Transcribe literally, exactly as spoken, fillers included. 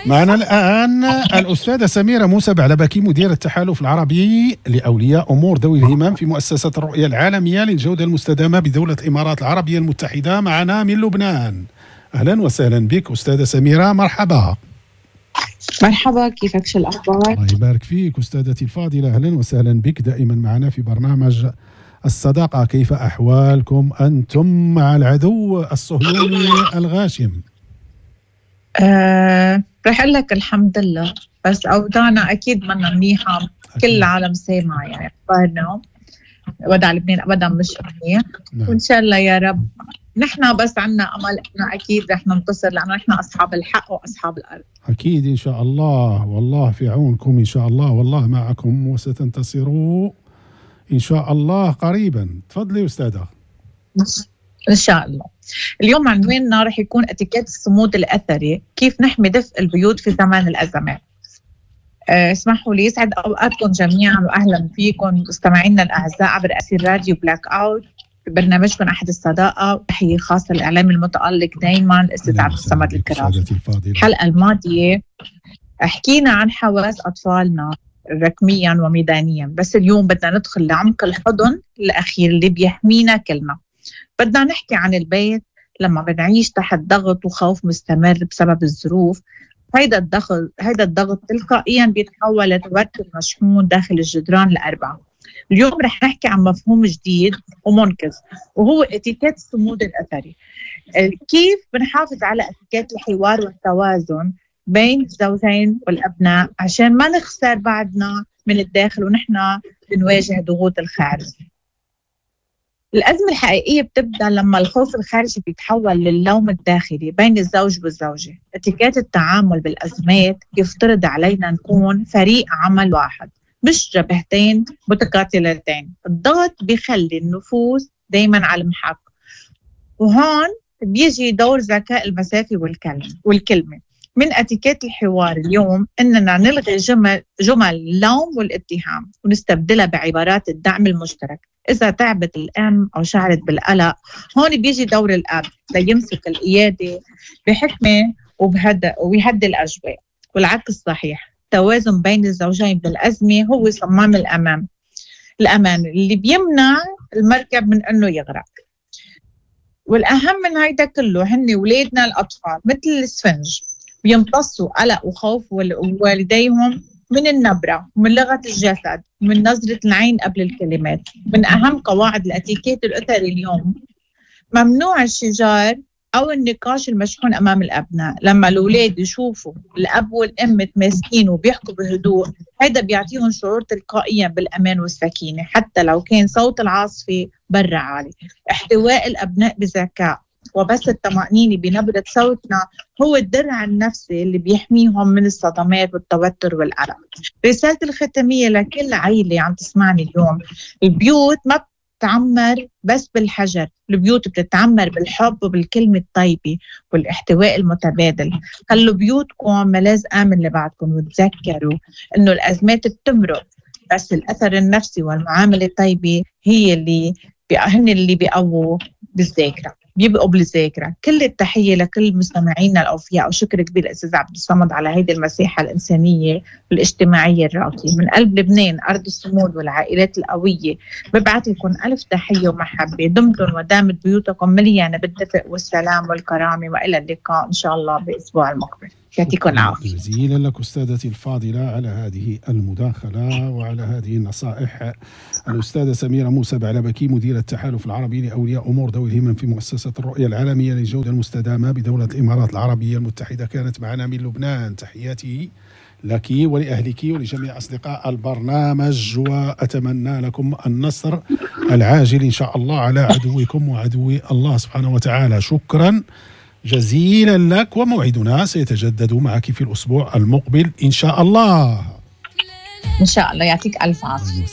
معنا الآن الأستاذة سميرة موسى بعلبكي، مدير التحالف العربي لأولياء أمور ذوي الهمم في مؤسسة الرؤية العالمية للجودة المستدامة بدولة الإمارات العربية المتحدة، معنا من لبنان. أهلا وسهلا بك أستاذة سميرة، مرحبا. مرحبا، كيفك، شو الأخبار؟ الله يبارك فيك أستاذتي الفاضلة، أهلا وسهلا بك دائما معنا في برنامج الصداقة. كيف أحوالكم أنتم مع العدو الصهيوني الغاشم؟ أه رح أقول لك الحمد لله، بس أوضاعنا أكيد منا منيحة، كل العالم سامع يعني أخبارنا، وضع لبنان أبدا مش منيح. نعم. وإن شاء الله يا رب نحن بس عنا أمل إنه أكيد رح ننتصر، لأنه نحن أصحاب الحق وأصحاب الأرض. أكيد إن شاء الله، والله في عونكم إن شاء الله، والله معكم وستنتصروا إن شاء الله قريبا. تفضلي أستاذة. إن شاء الله. اليوم عنواننا رح يكون اتيكيت الصمود الأثري، كيف نحمي دفء البيوت في زمان الأزمات. اسمحوا لي، يسعد أوقاتكم جميعا وأهلا فيكم مستمعينا الأعزاء عبر أثير راديو بلاك أوت برنامجكم أحد الصداقة، وتحية خاصة للإعلام المتألق دايما الأستاذ عبد الصمد الكرام. الحلقة الماضية حكينا عن حواس أطفالنا رقميا وميدانيا، بس اليوم بدنا ندخل لعمق الحضن الأخير اللي بيحمينا كلنا. بدنا نحكي عن البيت لما بنعيش تحت ضغط وخوف مستمر بسبب الظروف. هيدا الضغط هيدا الضغط تلقائيا بيتحول لتوتر مشحون داخل الجدران الأربعة. اليوم رح نحكي عن مفهوم جديد ومنقذ، وهو اتيكيت الصمود الأثري. كيف بنحافظ على اتيكيت الحوار والتوازن بين الزوجين والأبناء عشان ما نخسر بعضنا من الداخل ونحن بنواجه ضغوط الخارج. الأزمة الحقيقية بتبدأ لما الخوف الخارجي بيتحول للوم الداخلي بين الزوج والزوجة. اتيكيت التعامل بالأزمات يفترض علينا نكون فريق عمل واحد، مش جبهتين متقاتلتين. الضغط بيخلي النفوس دايما على المحك، وهون بيجي دور ذكاء المسافة والكلمة. من اتيكيت الحوار اليوم إننا نلغي جمل, جمل اللوم والاتهام ونستبدلها بعبارات الدعم المشترك. إذا تعبت الأم أو شعرت بالقلق، هون بيجي دور الأب ليمسك القيادة بحكمة وبهدأ ويهدي الأجواء، والعكس صحيح. التوازن بين الزوجين بالأزمة هو صمام الأمان الأمان اللي بيمنع المركب من أنه يغرق. والأهم من هيدا كله هن ولادنا الأطفال مثل الإسفنج، بيمتصوا قلق وخوف والديهم من النبرة ومن لغة الجسد ومن نظرة العين قبل الكلمات. من أهم قواعد الاتيكيت الأثري اليوم ممنوع الشجار أو النقاش المشحون أمام الأبناء. لما الأولاد يشوفوا الأب والأم متماسكين وبيحكوا بهدوء، هيدا بيعطيهم شعور تلقائيا بالأمان والسكينة، حتى لو كان صوت العاصفة برا عالي. احتواء الأبناء بذكاء وبس الطمأنينة بنبرة صوتنا هو الدرع النفسي اللي بيحميهم من الصدمات والتوتر والقلق. رسالة الختامية لكل عائلة عم تسمعني اليوم: البيوت ما بتتعمر بس بالحجر، البيوت بتتعمر بالحب وبالكلمة الطيبة والاحتواء المتبادل. خلوا بيوتكم ملاذ آمن لبعضكم، وتذكروا إنه الأزمات بتمرق، بس الأثر النفسي والمعاملة الطيبة هي اللي هن اللي بيقووا بالذاكرة، بيبقوا بالذاكرة. كل التحية لكل مستمعينا الأوفياء، وشكر كبير للأستاذ عبد الصمد على هيدي المساحة الإنسانية والاجتماعية الراقية. من قلب لبنان أرض الصمود والعائلات القوية ببعث لكم ألف تحية ومحبة. دمتم ودامت بيوتكم مليانة بالدفء والسلام والكرامة، وإلى اللقاء إن شاء الله بأسبوع المقبل. يعطيكم العافية. جزيلا لك أستاذتي الفاضلة على هذه المداخلة وعلى هذه النصائح. الأستاذة سميرة موسى بعلبكي، مديرة التحالف العربي لأولياء أمور ذوي الهمم في مؤسسة الرؤية العالمية للجودة المستدامة بدولة الإمارات العربية المتحدة، كانت معنا من لبنان. تحياتي لك ولأهلك ولجميع أصدقاء البرنامج، وأتمنى لكم النصر العاجل إن شاء الله على عدوكم وعدو الله سبحانه وتعالى. شكرا جزيلا لك، وموعدنا سيتجدد معك في الأسبوع المقبل إن شاء الله. إن شاء الله. يعطيك ألف عافية.